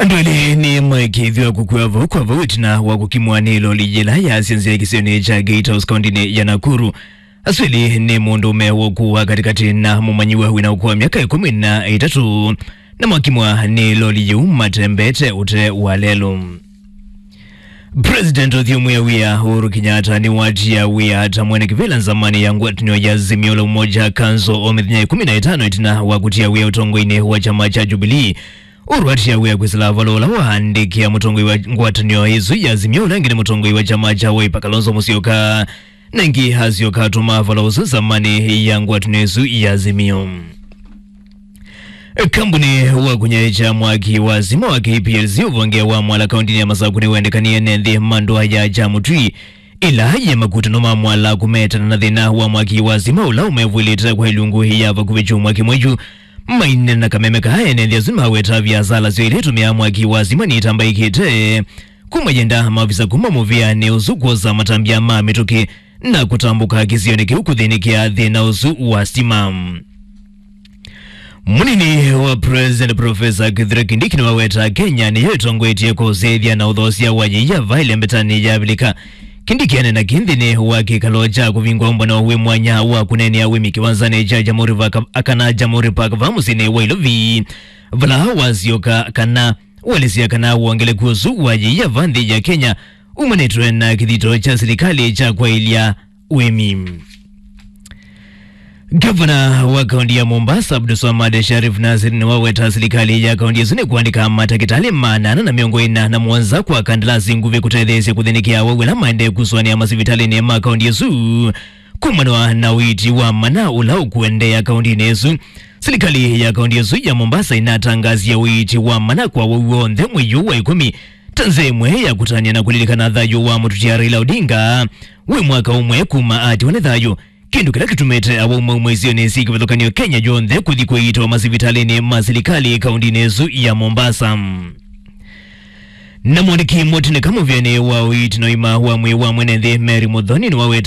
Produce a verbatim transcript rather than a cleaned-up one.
Andũ elĩ nĩmaĩkĩĩthw'a kũkw'a vau kwa vau ĩtina wa kũkimwa nĩ loli yĩla yaasya nzĩa kĩsionĩ kya Gate House kaũntĩnĩ ya Nakuru. Asu elĩ nĩ mũndũũme wa ũkũũ wa katĩkatĩ na mũmanyĩw'a wĩna ũkũũ wa myaka ĩkũmi na ĩtatũ, na makimwa nĩ loli yĩu matembete ũtee wa lelũ. President ũthyũmũĩa wĩa Uhuru Kenyatta nĩwatia wĩa ta mwene kĩvĩla nzamanĩ ya ngwatanĩo ya Azimio la Umoja Council o mĩthenya ĩkũmi na ĩtano ĩtina wa kũtia wĩa ũtongoinĩ wa kyama kya Jubilee. Uhuru atia wĩa kwĩsĩla vala ũla waandĩkĩa mũtongoi wa ngwatanĩo ĩsu ya Azimio, ũla ĩngĩ nĩ mũtongoi wa kyama kya Wiper Kalonzo Musyoka, na ĩngĩ asyoka atũma vala ũsu nzamanĩ ya ngwatanĩo ĩsu ya Azimio. Kambuni wa kũnyaĩĩkya mwaki wa sima wa K P L C ũvonge wa Mwala kaũntĩnĩ ya Masaku nĩwendekanie nĩ nthĩ mandũa ya Kyamũtwi, ĩla yĩ makutano ma Mwala kũmetana na thĩna wa mwaki wa sima ũla ũmevw'ĩlĩte kwa ilungu ya vakuvĩ kyumwa kĩmwe yu. Maine na kameme kaa, ene nthĩ asu maweta viasala syoo ila itũmĩaa mwaki wa sima nĩitambaĩkĩte, kuma yenda maovisa kuma mũvĩanĩ ũsu kwosa matambya ma mĩtũkĩ na kũtambũka kĩsionĩ kĩu kũthĩnĩkĩa thĩna ũsu wa sima. Mũnini wa President Professor Kithure Kindiki nĩwaweta Kenya nĩyo ĩtongoetye kũsĩthya na ũthoosya wa yĩia va ĩlembetanĩ ya Avilika. Kindiki anena kĩ nthĩnĩ wa kĩkalo kya kũvingwa ũmbano wĩ mwanya wa kũneenea wĩmi kĩwanzanĩ kya Jamhuri Park, kana Jamhuri Park va mũsyĩnĩ wa Ilovi, vala wasyoka kana walĩsya kana wongeleku ũsu wa yĩia va nthĩ ya Kenya umanĩtwe na kĩthito kya silikalĩ kya kwaĩlya wĩmi. Ngavana wa kaunti ya Mombasa, Abdulswamad Sharif Nasir, nĩwaweta silikalĩ ya kaunti ĩsu nĩkũandĩka matakĩtalĩ maana ana na mĩongo ĩna na mũonza kwa kandalasi nguvĩ kũtetheesya kũthĩnĩkĩa awau ala maendee kusũanĩa masivitalĩnĩ ma kaunti ĩsu kumana na ũiiti wa mana ũla ũkũendeea kauntinĩ ĩsu. Silikalĩ ya kaunti ĩsu ya Mombasa ĩnatangasie ũiiti wa mana kwa awau onthe mwei ũũ wa ĩkũmi ta nzĩa ĩmwe ya kũtanĩa na kũlilikana thayũ wa mũtũtia Raila Odinga wĩ mwaka ũmwe kuma atiwa nĩ thayũ, kĩndũ kĩla kĩtumĩte awau mauma isionĩ syĩ kĩvathũkany'o Kenya yonthe kũthi kũiitwa masivitalĩnĩ ma silikalĩ kauntinĩ ĩsu ya Mombasa. Na mwandĩki mũtĩnĩka mũvĩanĩ wa ũiiti na ũima wa mwĩĩ wa mwene nthĩ Mary Muthoni nĩwaweta